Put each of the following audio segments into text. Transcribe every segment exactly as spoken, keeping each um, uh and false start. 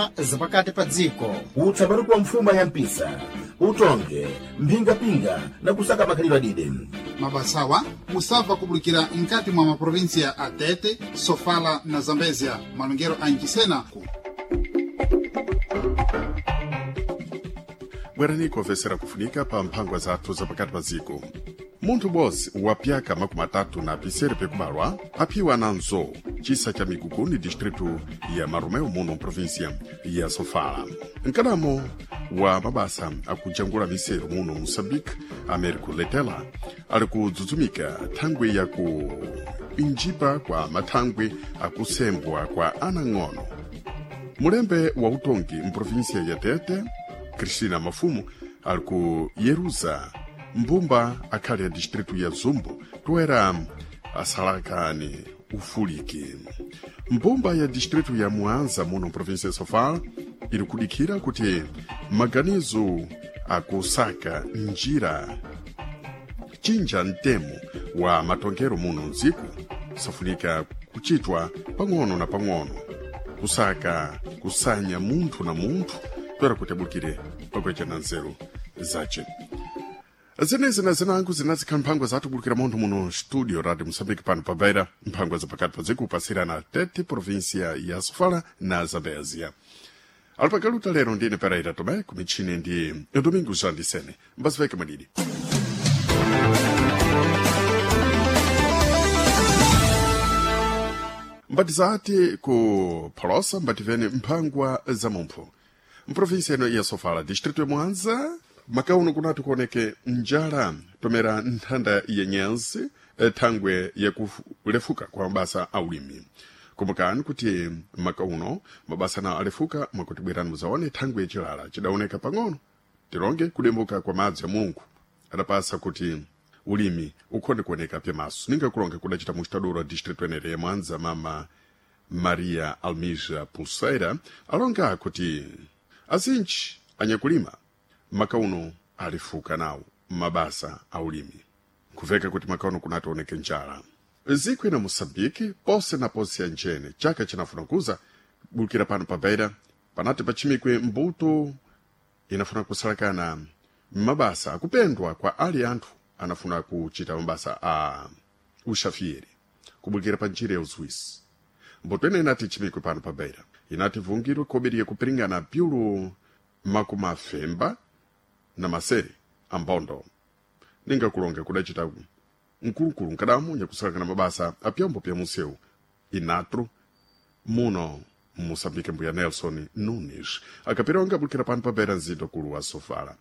mphangwa zapakati pa dziko. Utsabaruku wa mfuma ya mpisa, utonge, mphingapinga na kusaka makhalidwe adide. Mabasawa musabva kubulikira mkati mwa maprovinsia a Tete, Sofala na Zambezia, malongero a Nchisena. Bwerani kuofesera kufunika pa mphangwa zathu zapakati pa dziko. Munthu bozi wapyaka makumi atatu na pisere pekubalwa aphiwa na nzowu chisa cha Miguguni, distritu ya Marumeu, muno provinsia ya Sofala. Mkadamo wa mabasa akujangula miseru muno Moçambique, Américo Letela, ali kudzudzumika thangwi ya ku injipa kwa mathangwi akusembwa kwa anang'ono. Mulembe wa utongi mprovinsia ya Tete, Cristina Mafumu, ali ku Yeruza mbumba akhali ya distritu ya Zumbu toera asalakani ufuliki. Mbumba ya distritu ya Muanza muno provinsia ya Sofala iri kudikhira kuti maganizo akusaka njira chinja mtemo wa matongero muno mdziko safunika kuchitwa pang'ono na pang'ono, kusaka kusanya munthu na munthu toera kuti abukire pakuechana nzeru zace. Zenezi na zinangu zinazikhala mphangwa zathu kubulukira munthu muno studio Radio Moçambique pano pa Beira, mphangwa zapakati pa dziko kupasirana Tete, província ya Sofala na Zambézia. Alipakaluta lero ndine Pereira Tomé, kumichini ndi Domingo Jandisene. Mbaziveke madidi. Mbati zati ku Pholosa, mbativene mphangwa za mumpho. Mprovinsia ino ya Sofala, distrito ya Mwanza, makauno kunati kuoneke njala tomera nthanda ya nyansi, eh, thangwe yakulefuka kwa mabasa a ulimi. Kumbukani kuti makauno mabasa nawo alefuka mwakuti bwerani muzaone thangwe yachilala chidaoneka pang'ono tilonge kudembuka kwa madzi ya Mulungu adapasa kuti ulimi ukhonde kuoneka pyamaso. Ninga kulonga kudacita mustaduro wa distrito enere ya Mwanza, mama Maria Almija Pulseira, alonga kuti azinji anyakulima makauno alifuka nawo mabasa a ulimi, kuveka kuti makauno kunati njala ziko ina Moçambique pose na pose ya njene chaka chinafuna kuza bulukira pano pa Beira panati pachimikwe mbuto inafuna kusalakana mabasa akupendwa kwa ali anthu anafuna kuchita mabasa a uxafieri kubulukira pa njira ya uzuisi. Mbuto ina inati ichimikwe pano pa Beira inati vungirwe kobiri yakupiringana pyulu makumi afemba na masere ambondo. Ninga kulonga kudacita mkulukulu nkadamu nyakusalakana mabasa apyombo pya museu inatro muno Moçambique, mbuya Nelson Nunes akapironga bulukira pano pa Beira nzindo kulu wa Sofala.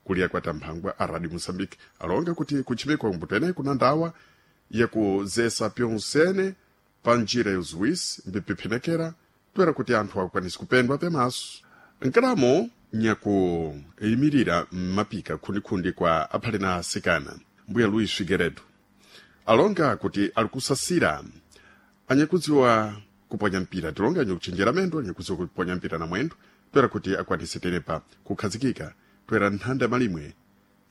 Kuliya kwa tamphangwa a Radio Moçambique alonga kuti kuchimikwa mbuto eneyi kuna ndawa yakuzesa pyonsene pa njira ya uzuwisi mbipiphenekera toera kuti anthu akwanise kupendwa pyamaso. Nkadamo nyakuyimirira mmapika khundikhundi kwa aphale na asikana, mbuya Luis Figueredo, alonga kuti ali kusasira anyakudziwa kuponya mpira, tilonga anyakuchenjera mendo, anyakudziwa kuponya mpira na mwendo toera kuti akwanise tenepa kukhazikika toera nthanda malimwe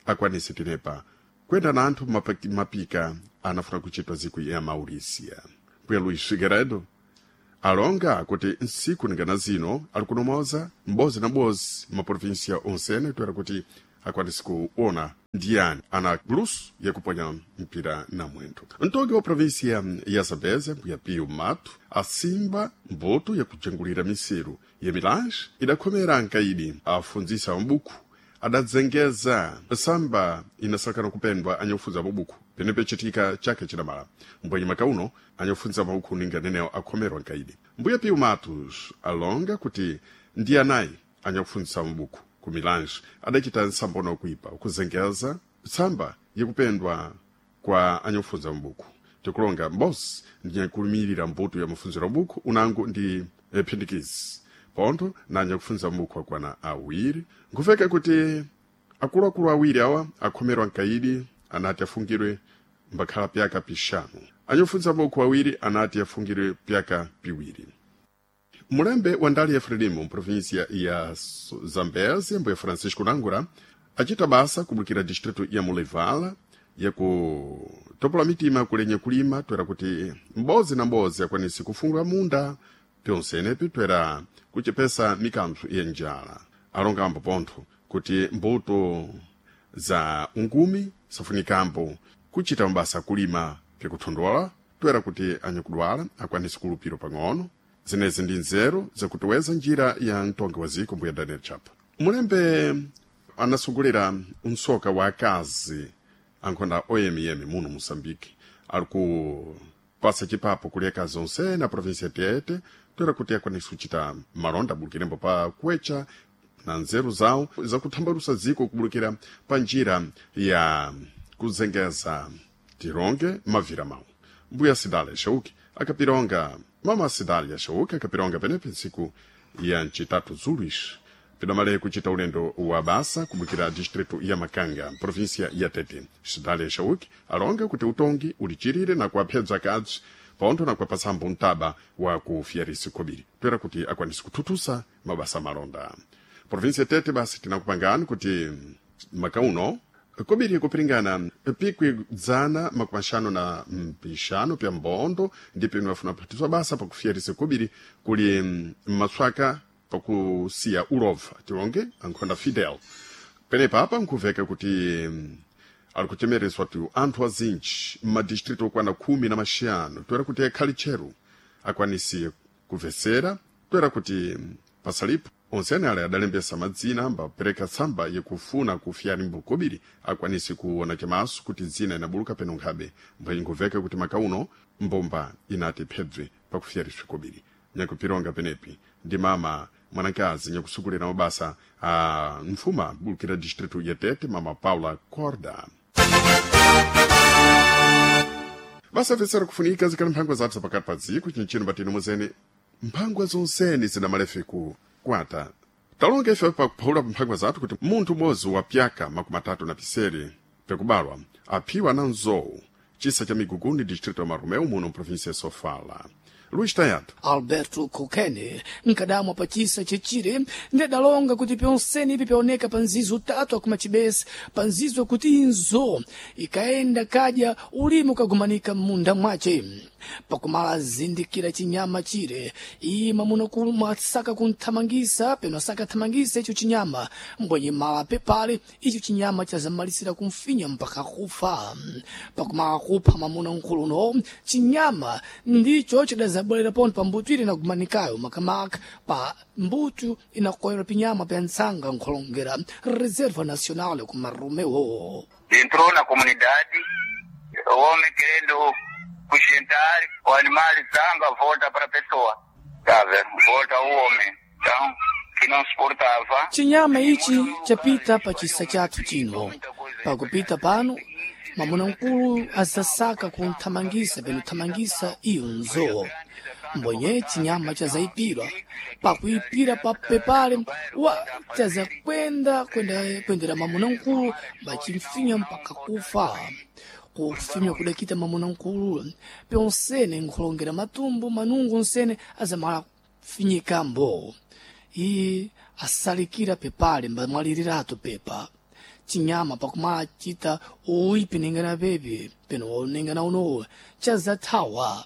akwanise tenepa kuyenda na anthu mapa- mapika anafuna kuchitwa ziku ya Maurisia. Mbuya Luis Figueredo alonga kuti nsiku ningana zino ali kunomoza m'bozi na bozi maprovinsia onsene toera kuti akwanise kuona ndiyani ana luso yakuponya mpira na mwendo. Mtongi wa provinsia ya Zambézia, mbuya Pio Mato, asimba mbuto yakujangulira miseru ya Milange idakhomera nkaidi afundzisa mabuku adadzengeza samba inasalakana kupendwa anyakufunza mabuku penepe chitika chake chidamala mbwenye makauno anyakufunza mabuku ninga nenewo akhomerwa nkaidi. Mbuya Pio Matos alonga kuti ndi anayi anyakufunzisa mabuku ku Milange adachita nsambono kuipa kuzengeza tsamba yakupendwa kwa anyakufunza mabuku. Tikulonga mbosi ndinyakulumirira mbuto ya mafunziro mabuku unangu ndi eh, phindikizi pontho na anyakufunza mabuku akwana awiri. Nkuveka kuti akuluakulu awiri awa akhomerwa nkaidi anati afungirwe mbakhala pyaka pixanu. Anyakufunza mabuku awiri anati afungirwe pyaka piwiri. Mulembe wa ndali ya Frelimo mprovinsia ya Zambézia, mbuya Francisco Nangura, acita basa kubulukira distrito ya Mulevala yakutopola mitima kulenye kulima toera kuti mbozi na mbozi akwanise kufungula munda Pyonsenepi twera kuchepesa mikanthu ya njala. Alongambo pontho kuti mbuto za ungumi safunikambo kuchita mabasa kulima pyakuthondola twera kuti anyakudwala akwanise kulupiro pang'ono. Zenezi ndi nzeru zakutiweza njira ya mtongi wa ziko mbuya Daniel Chapa. Mulembe anasungulira msoka wa akazi ankhonda oyemiyemi muno Moçambique ali kupasa chipapo kuli akazi onse na província ya Tete toera kuti akwanise kuchita malonda abulukirembo pa kuwecha na nzeru zawo zakuthambalusa dziko kubulukira pa njira ya kuzengeza tironge mavira mawu. Mbuya Sidalia Shauki akapironga mama Sidalia Shauki akapironga penepe ntsiku ya ncitatu zulis pidamale kuchita ulendo wa basa kubukira distrito ya Makanga, província ya Tete. Sidalia Shauki alonga kuti utongi ulichirire na kuwaphedza akadzi pontho na kuwapatsambo mtaba wa kufiyarisi khobiri toera kuti akwanise kuthuthusa mabasa malonda. Província ya Tete basi tinakupangani kuti makauno kobiri kupiringana pikwi dzana makumi axanu na mpixanu pya mbondo ndi pino afuna kuphatiswa basa pakufiyarisa kobiri kuli mmatswaka pakusiya ulova tilonge ankhonda Fidel. Penepa apa nkhuveka kuti ali kuchemereswa tu anthu azinji m'madistrito okwana khumi na maxanu toera kuti akhali tcheru akwanise kumvetsera toera kuti pasalipo onsene ale adalembesa madzina ambapereka tsamba yakufuna kufiyani kobiri akwanise kuona chamaso kuti dzina inabuluka peno nkhabe mbwenye nkuveka kuti makauno mbomba inati phebve pakufiyariswa kobiri. Nyakupironga penepi ndi mama mwanakazi nyakusukulira mabasa a mfuma bulukira distrito ya Tete, mama Paula Corda. Basafesera kufunika zikali mphangwa zathu zapakati pa dziko chinchino patino muzene mphangwa zonsene zidamalefe ku kwata. Talonga ife pakuphawula mphangwa zathu kuti munthu umodzi wa pyaka makumi atatu na pisere pyakubalwa aphiwa na nzowu chisa cha Miguguni distrito ya Marumeu muno mprovinsia ya Sofala. Luís Tayato Alberto Kokene nkadamwa pa chisa chechire ndadalonga kuti pyonsene ipi pyaoneka pa nzizo utatu akumachibesa pa nzizo kuti inzo ikaenda kadya ulimi ukagumanika m'munda mwace. Pakumala zindikira chinyama chire ima muno kumasaka kunthamangisa peno asakathamangisa icho chinyama mbwenye mala pepale icho chinyama chazamalisira kumfinya mpaka kufa. Pakumala kupha mamuna nkhuluno chinyama ndicho chidazabwerera pontho pa mbuto ile inagumanikayo makamaka pa mbuto inakoyera pinyama pya ntsanga nkholongera Reserva Nacional ku Marromeu. Entrou na comunidade, o homem querendo sustentar o animal zanga volta para a pessoa, sabe? Volta o homem. Então, que não suportava. Chinyama ichi chapita pa chisa chathu chino. Pakupita pano mamuna mkulu azasaka kunthamangisa peno thamangisa iyo nzowo mbonye chinyama chazayipirwa pakuipira papepale wa chazakwenda kwenda kwendera mamuna mkulu bachimfinya mpaka kufa. Kufinywa kudakita mamuna mkulu pyonsene nkhulongera matumbo manungu nsene azamala kufinyikambo iye asalikira pepale mbamwalirirato pepa. Chinyama pakumala chita uipi ningana pepi peno ningana unowo chazathawa.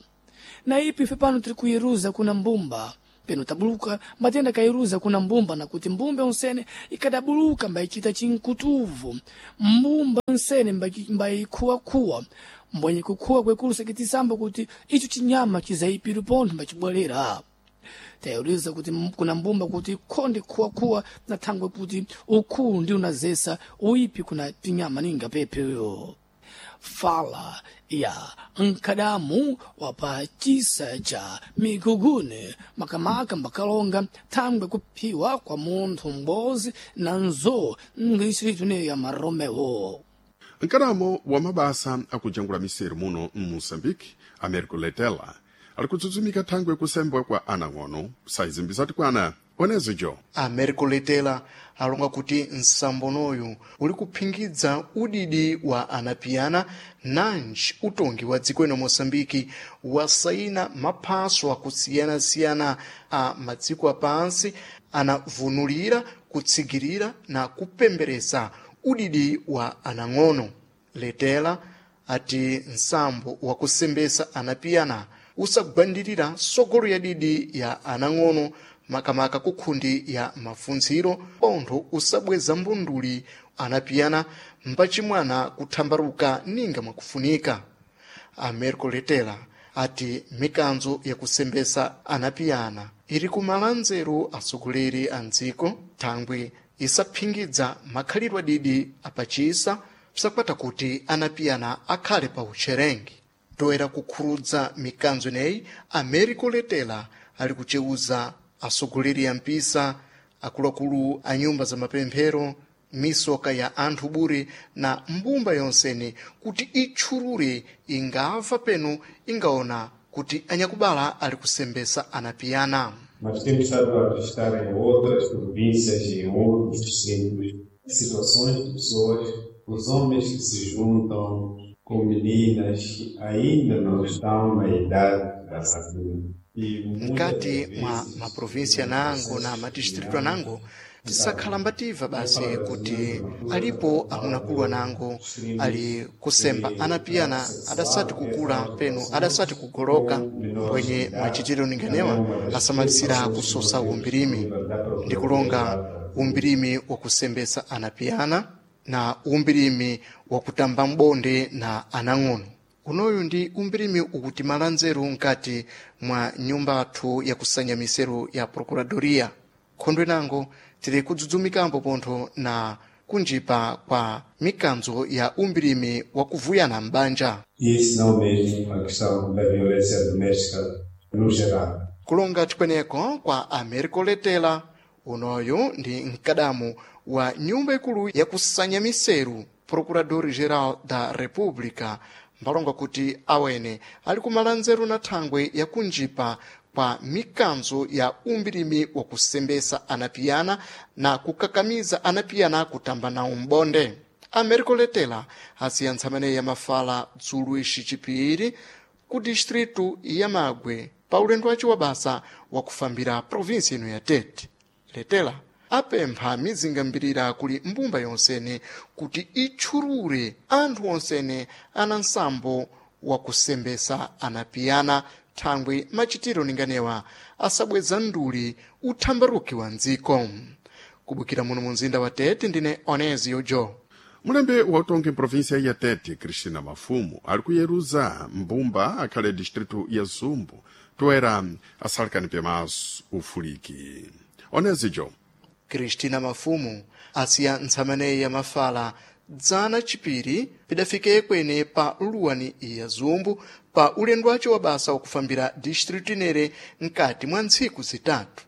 Na ipi ife pano tiri kuiruza kuna mbumba peno tabuluka matenda kairuza kuna mbumba na kuti mbumba onsene ikadabuluka mbayichita chinkutuvu mbumba onsene mbayikhuwakhuwa mbwenye kukhuwa kwekulu sekitisamba kuti icho chinyama chizayipiru pontho mbachibwerera. Tayuriza kuti kuna mbumba kuti khonde khuwakhuwa na thangwe kuti ukhulu ndi unazesa uipi kuna pinyama ninga pepeyo. Fala ya nkadamu wapa chisa cha Migugune makamaka mbakalonga thangwe kuphiwa kwa munthu m'bodzi na nzo mdistritu ya Marromeu. Mkalamo wa mabasa akujangula miseru muno mmoçambique, Américo Letela, ali kudzudzumika thangwe kusembwa kwa anang'ono saizimbizati kwana onezo jo. Américo Letela alonga kuti nsambonoyu uli kuphingidza udidi wa anapiyana nanji utongi wa dziko ino Moçambike wasayina maphaso akusiyana-siyana a madziko apansi anavunulira kutsigirira na kupemberesa udidi wa anang'ono. Letela ati nsambo wakusembesa anapiyana usagwandirira sogolo ya didi ya anang'ono makamaka kukhundi ya mafunziro pontho usabweza mbunduli anapiyana mpachimwana kuthambaruka ninga mwakufunika. Americo Letela ati mikanzo yakusembesa anapiyana iri kumala nzeru atsogoleri a mdziko thangwi isaphingidza makhalidwe adidi apachisa psakwata kuti anapiyana akhale pa utcherengi. Toera kukhurudza mikanzo ineyi, Americo Letela ali kuceuza atsogoleri a mpisa, akuluakulu a nyumba za mapemphero, misoka ya anthu bure na mbumba yonsene kuti itchulure ingamva peno ingaona kuti anyakubala ali kusembesa anapiyana. Mas temos estado a registrar em outras províncias e em outros distritos situações de pessoas, os homens que se juntam com meninas que ainda não estão na idade da saúde. Mkati mwa maprovinsi anango na madistritu anango tisakhala mbativa basi kuti alipo amunakulu anango ali kusemba anapiyana adasati kukula peno adasati kugoloka, mbwenye machitiro ninganewa asamalisira kusosa umbirimi ndi kulonga umbirimi wakusembesa anapiyana na umbirimi wakutamba mbonde na anang'ono. Unoyu ndi umbirimi ukutimala nzeru mkati mwa nyumba athu yakusanya miseru ya procuradoria. Khondwe nango tili kudzudzumikapo pontho na kunjipa kwa mikanzo ya umbirimi wakuvuyana m'banja. E se não mesmo a questão da violência doméstica no geral. Kulonga chikweneko kwa Americo Letela, unoyu ndi mkadamu wa nyumba ikulu yakusanya miseru Procurador-Geral da República, mbalonga kuti awene ali kumala nzeru na thangwe yakunjipa kwa mikanzo ya umbirimi wakusembesa anapiyana na kukakamiza anapiyana kutamba nawo mbonde. Americo Letela asiya ntsamene ya mafala dzulu ixi chipiri ku distritu ya Magwe pa ulendo wace wa basa wakufambira provinsi ino ya Tete. Letela apempha mizinga mbirira kuli mbumba yonsene kuti itchulure anthu onsene ana nsambo wakusembesa anapiyana thangwi machitiro ninganewa asabweza nduli uthambaruki wa mdziko. Kubukira muno mu mzinda wa Tete ndine Onezio Jo. Mulembe wa utongi mprovinsia ya Tete, Cristina Mafumu, ali kuyeruza mbumba akhale distritu ya Zumbu toera asalikani pemaso ufuliki. Onezijo. Cristina Mafumu asiya ntsamaneyi ya mafala dzana chipiri pidafike kwene pa luwani ya Zumbu pa ulendo wace wa basa wakufambira distritu inere mkati mwa ntsiku zitatu.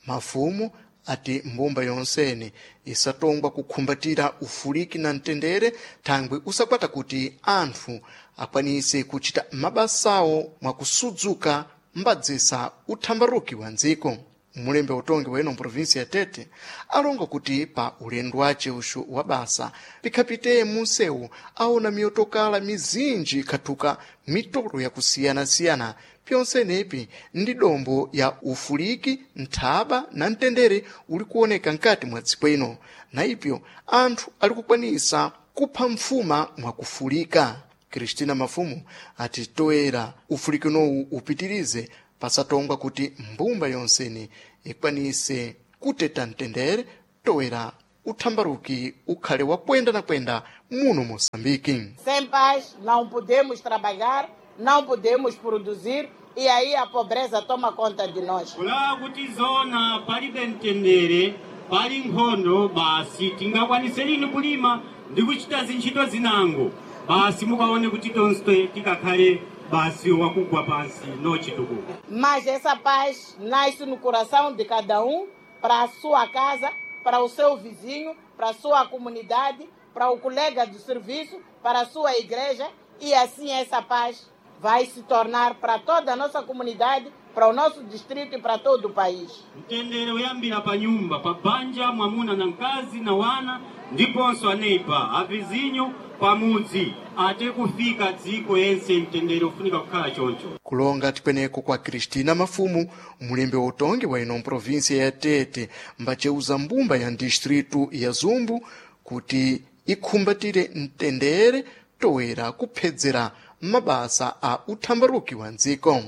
Mafumu ati mbumba yonsene isatongwa kukhumbatira ufuliki na mtendere thangwi usakwata kuti anthu akwanise kuchita mabasawo mwakusudzuka mbadzisa uthambaruki wa ndziko. Mulembe utongi weno mprovinsi ya Tete alonga kuti pa ulendo wace uxu wa basa pikhapite munsewu aona miyotokala mizinji ikhathuka mitolo yakusiyanasiyana pyonsenepi ndi dombo ya ufuliki, nthaba na mtendere uli kuoneka mkati mwa dziko ino, na ipyo anthu ali kukwanisa kupha mfuma mwakufulika. Cristina Mafumu ati toera ufuliki unowu upitirize pasatongwa kuti mbumba yonsene ikwanise kuteta mtendere toera uthambaruki ukhale wakwenda na kwenda muno Moçambique. Sem paz não podemos trabalhar, não podemos produzir e aí a pobreza toma conta de nós. Kulawa kuti zona palibe mtendere, pali nkhondo basi tingakwanise lini kulima ndi kuchita zintchito zinango basi mukaone kuti tonse tikakhale basi wakugwa pansi nochitukuka. Mas essa paz nasce no coração de cada um, para a sua casa, para o seu vizinho, para a sua comunidade, para o colega do serviço, para a sua igreja, e assim essa paz vai se tornar para toda a nossa comunidade, para o nosso distrito e para todo o país. Mtendere uyambira pa nyumba, pa banja, mwamuna na mkazi na wana ndiponso aneipa avizinyo pamudzi ate kufika dziko yense mtendere ufunika kukhala choncho. Kulonga tikweneko kwa Cristina Mafumu, mulembe wa utongi wa ino mprovinsia ya Tete, mbaceuza mbumba ya distritu ya Zumbu kuti ikhumbatire mtendere toera kuphedzera mabasa a uthambaruki wa ndziko.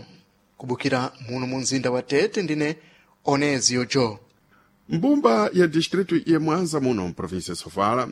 Kubukira muno mu mzinda wa Tete ndine Onezio Jo. Mbumba ya distrito ya Mwanza muno mprovinsia ya Sofala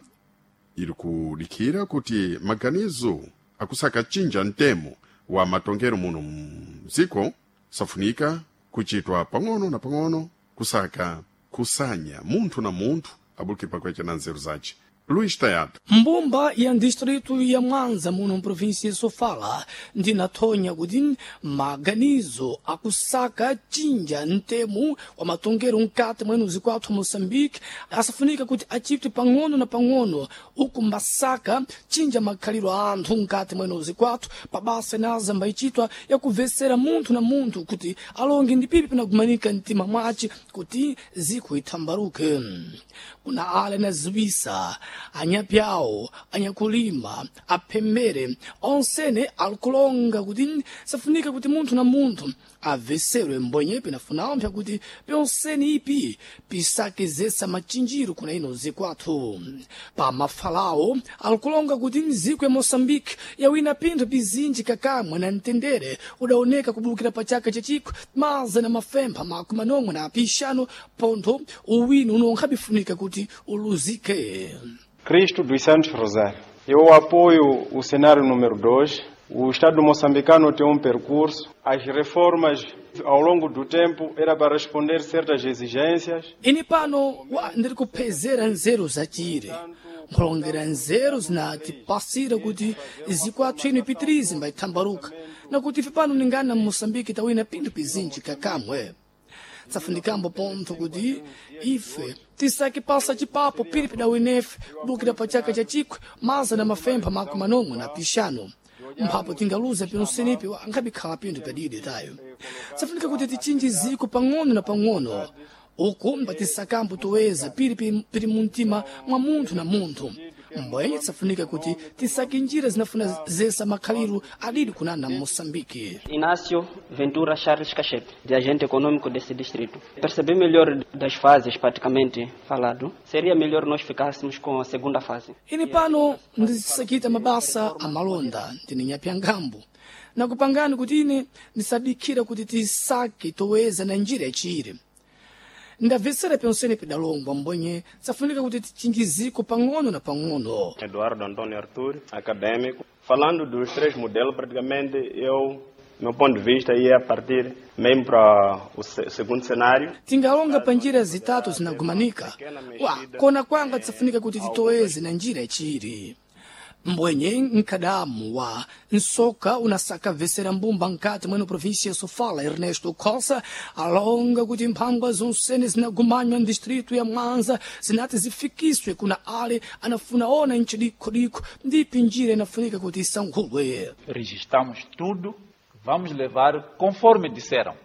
iri kudikhira kuti maganizo akusaka chinja mtemo wa matongero muno mdziko safunika kuchitwa pang'ono na pang'ono kusaka kusanya munthu na munthu abulukire pakwecha na nzeru zace. Luís Tayado. Mbumba ya distrito ya Mwanza muno mprovinsia ya Sofala ndinathonya kuti maganizo akusaka cinja ntemu wa matongero mkati mwenu zikwathu Moçambique asafunika kuti achite pang'ono na pang'ono uku mbasaka cinja makhaliro a anthu mkati mwenu zikwathu pabasa inaza mbayichitwa yakubvesera munthu na munthu kuti alonge ndi pipi pinagumanika mtima mwace kuti ziko ithambaruke. Kuna ale naziwisa anyapyawo anyakulima aphembere onsene alikulonga kuti safunika kuti munthu na munthu aveserwe mbonye pinafuna ompsa kuti pyonsene ipi pisakezesa machinjiro kuna ino zikwathu. Pa mafalawo alikulonga kuti mziko ya Moçambique yawina pinthu pizinji kakamwe na mtendere udaoneka kubulukira pa chaka chachikho maza na mafempha makumi manomwe na apixano pontho uwini unonkhabifunika kuti uluzike. Cristo dos Santos Rosário. Eu apoio o cenário número dois. O Estado moçambicano tem um percurso. As reformas ao longo do tempo era para responder certas exigências. Ine pano wa ndiri kuphezera nzeru zacire nkhulongera nzeru zinatipasira kuti zikwathu ino ipitirize mbayithambaruka nakuti ife pano ningana mmoçambike tawina pinthu pizinji kakamwe. Tsafunikambo pontho kuti ife tisake pasa chipapo pili pidawinefe kubukira pa chaka cha chikwe maza na mafempha makumi manomwe na pixano mphapo tingaluza pionsenipi ankhabikhala pinthu pyadidi tayo. Tsafunika kuti tichinje ziko pang'ono na pang'ono uku mbatisakambo toweza pili pili mumtima mwa munthu na munthu mbwenye tsafunika kuti tisake njira zinafuna zesa makhaliro adidi kunana Moçambique. Inácio Ventura Charles Cachete, de agente econômico desse distrito. Perceber melhor das fases praticamente falado, seria melhor nós ficássemos com a segunda fase. Ine pano ndisakita mabasa amalonda ndine nyapyangambo nakupangani kuti ine ndisadikhira kuti tisake toweza na njira yachire. Ndabvesera pyonsene pidalongwa mbonye tsafunika kuti tichinjiziko pang'ono na pang'ono. Eduardo Antônio Arthur, acadêmico. Falando dos três modelos, praticamente eu, meu ponto de vista ia a partir mesmo para o segundo cenário. Tingalonga pa njira zitatu zinagumanika wa kona kwanga tsafunika kuti titoweze na njira yachiri. Mbwenye nkadamu wa nsoka unasaka vesera mbumba nkati mweno província ya Sofala Ernesto Cossa alonga kuti mphangwa zonsene zinagumanywa ndistrito ya Mwanza zinati zifikiswe kuna ale anafuna ona nchidikhodikho ndipi njira inafunika kuti isankhulwe. Registramos tudo, vamos levar conforme disseram.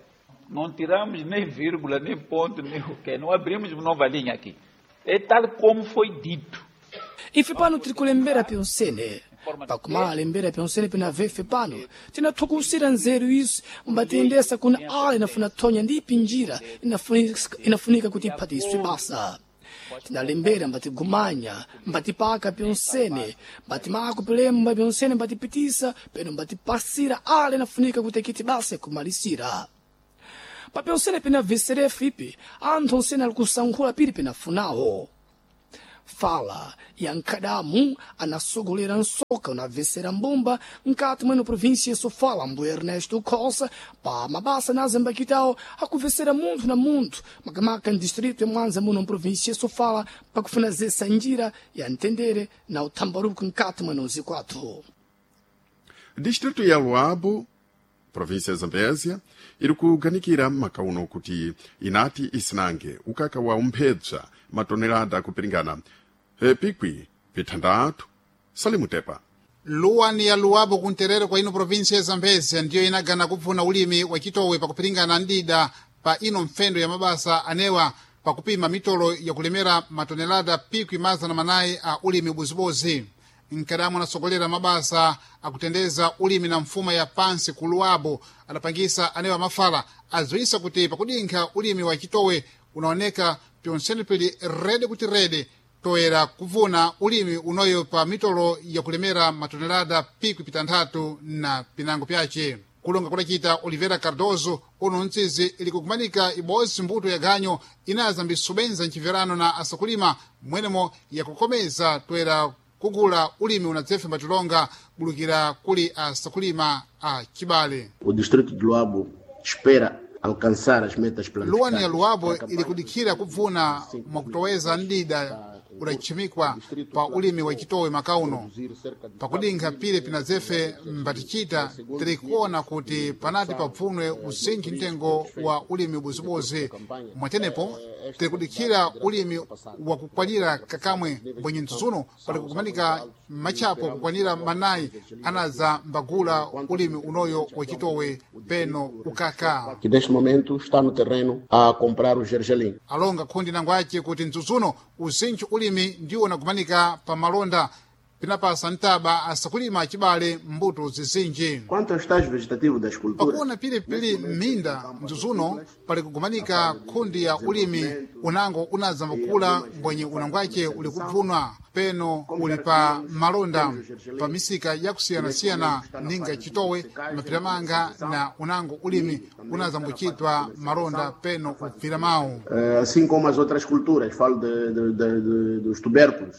Não tiramos nem vírgula, nem ponto, nem o quê, não abrimos nova linha aqui. É tal como foi dito. Ife pano tiri kulembera pyonsene pakumala lembera pyonsene pinave ife pano tinathukusira nzeru izi mbatiyendesa kuna ale inafuna thonya ndipi njira inafunika, inafunika kuti iphatiswe basa. Tinalembera mbatigumanya mbatipaka pyonsene mbatimako pilemba pyonsene mbatipitisa peno mbatipasira ale inafunika kuti akiti basa kumalisira. Pa pyonsene pinaveserefu ipi anthu onsene ali kusankhula pili pinafunawo. Fala ya nkadamu anasogolera nsoka unavesera mbumba nkati mweno província ya Sofala mbu Ernesto Cossa pa mabasa na zambakitao akuvesera munthu na munthu makamaka ndistrito ya Mwanza muno mprovíncia ya Sofala pakufuna zesa njira ya mtendere na uthambaruko nkati mweno zikwathu. Distrito ya Luabo, província ya Zambésia, iri kuganikira makauno kuti inati isinange ukaka wa umphebza matonelada kupiringana e, pikwi vithandatu salimutepa. Luwani ya Luabo kunterere kwa ino província ya Zambésia ndiyo inagana kupfuna ulimi wa chitowe pakupiringana ndida pa ino mfendo ya mabasa anewa pakupima mitolo yakulemera matonelada pikwi mazana manayi a ulimi ubozibozi. Nkadamu anasogolera mabasa akutendeza ulimi na mfuma ya pansi ku Luabo adapangisa anewa mafala adziwisa kuti pakudinkha ulimi wa chitowe unaoneka pyonsene pili rede kuti rede toera kuvuna ulimi unoyo pa mitolo yakulemera matonelada pikwi pitanthatu na pinango pyace. Kulonga kudacita Oliveira Cardoso, uno mtsizi ili kukumanika ibodzi mbuto ya ganyo inaza mbisubenza mchiverano na asakulima mwenemo yakukomeza toera kugula ulimi unadzefe mbatilonga bulukira kuli asakulima a chibale. O distrito de Luabo espera alcançar as metas Luwani ya Luabo ili kudikhira kubvuna mwakutoweza ndida udachimikwa pa ulimi wa chitowe makauno. Pakudinkha pile pinadzefe mbatichita, tiri kuona kuti panati pabvunwe uzinji mtengo wa ulimi ubozibozi. Mwatenepo tiri kudikhira ulimi wakukwanira kakamwe mbwenye mtsutsuno pali kukumanika machapo kukwanira manayi anaza mbagula ulimi unoyo wa chitowe peno ukaka. Que neste momento está no terreno a comprar o gergelim. Alonga khundi nangwace kuti mtsutsuno uzinji ulimi ndiwo unakumanika pa malonda pinapasa ntaba asakulima achibale mbuto zizinji. Quanto ao estágio vegetativo das culturas, Pakuona pilipili m'minda mtsutsuno pali kugumanika khundi ya ulimi unango unaza mbakula mbwenye unangwace uli kubvunwa peno uli pa malonda pa misika yakusiyanasiyana ninga chitowe, mapiramanga na unango ulimi unaza mbuchitwa malonda peno ubvira mawu. eh, assim como as outras culturas, falo de, de, de, de, dos tubérculos,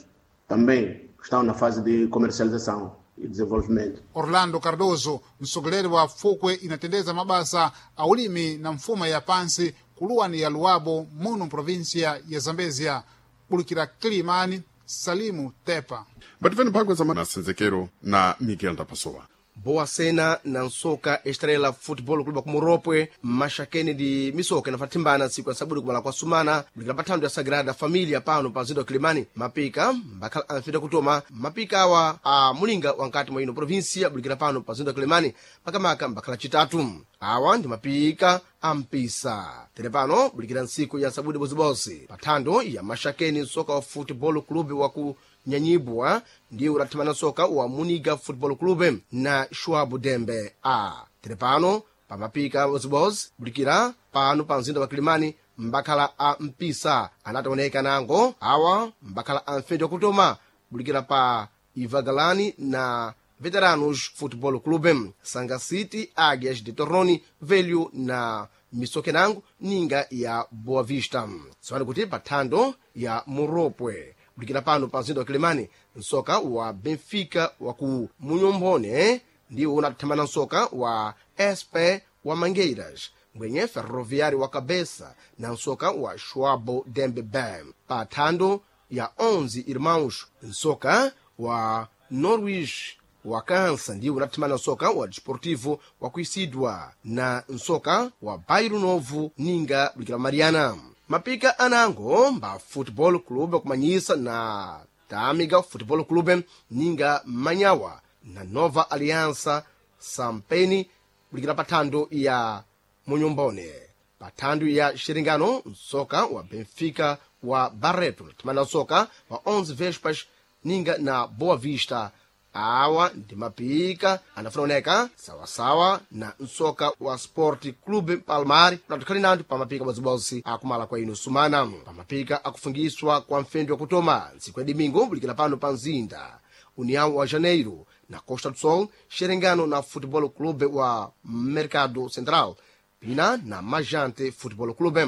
também estão na fase de comercialização e desenvolvimento. Orlando Cardoso, mtsogoleri wa fukwe inatendeza mabasa a ulimi na mfuma ya pansi kuluwani ya Luabo muno provinsia ya Zambezia. Bulukira Kilimani, Salimu Tepa. Mbativeni mphangwa za masenzekero na Miguel Ndapasowa. Boa Cena na nsoka Estrela Football Clube ku Muropwe maxakeni di misoka inafathimbana tsiku ya sabudu kumala kwa sumana bulikira pa ya Sagrada Familia pano pa mzinda wa Kilimani. Mapika mbakhala anfita kutoma mapika awa a mulinga wankati mwa ino provinsia bulikira pano pa mzinda wa Kilimani makamaka mbakhala chitatu. Awa ndi mapika a mpisa tere pano bulikira ntsiku ya sabudu bozibozi pa thando ya maxakeni nsoka wa Football Club wa ku Nyanyibwa ndiye udathimana nsoka wa Muniga Football Club na Schwab Dembe a tere pano pamapika bozibozi bulikira pano pa mzinda wa Kilimani mbakhala a mpisa anataoneka nango awa mbakhala a mfendi wakutoma bulikira pa Ivagalani na Veteranos Football Club, Sanga City, Águias de Torroni, Velho na Misokenango ninga ya Boa Vista. Tsopano kuti pa thando ya Muropwe bulikira pano pa mzinda wa Kilimani nsoka wa Benfica wa ku Munyombone ndiwo unathamana nsoka wa S P wa Mangueiras mbwenye Ferroviário wa Cabeça na nsoka wa Schwabo Dembe Bam pa thando ya onze Irmãos nsoka wa Norwich wa Kansa ndiwo unathamana nsoka wa Desportivo wa Kuisidwa na nsoka wa Bairro Novo ninga bulikira Mariana. Mapika anango mba Football Club kumanyisa na Tamiga Football Club ninga Manyawa na Nova Aliança Sampeni bulikira pathando ya Munyombone. Pathando ya Xeringano nsoka wa Benfica wa Barreto timana nsoka wa onze Vespas ninga na Boa Vista. Awa ndi mapika anafuna oneka sawasawa na nsoka wa Sport Club Palmar unatukhali nandu pa mapika bozibozi akumala kwa ino sumana pa mapika akufungiswa kwa mfendi wa kutoma ntsiku ya domingo bulikira pano pa mzinda União wa Janeiro na Costa do Sol Xerengano na Futebol Clube wa Mercado Central pina na Majante Futebol Clube.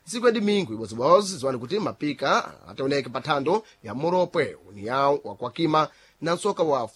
Ntsiku ya domingo ibozibozi ziwani kuti mapika ataoneke pa thando ya Moropwe União wa Kwakima na nsoka wa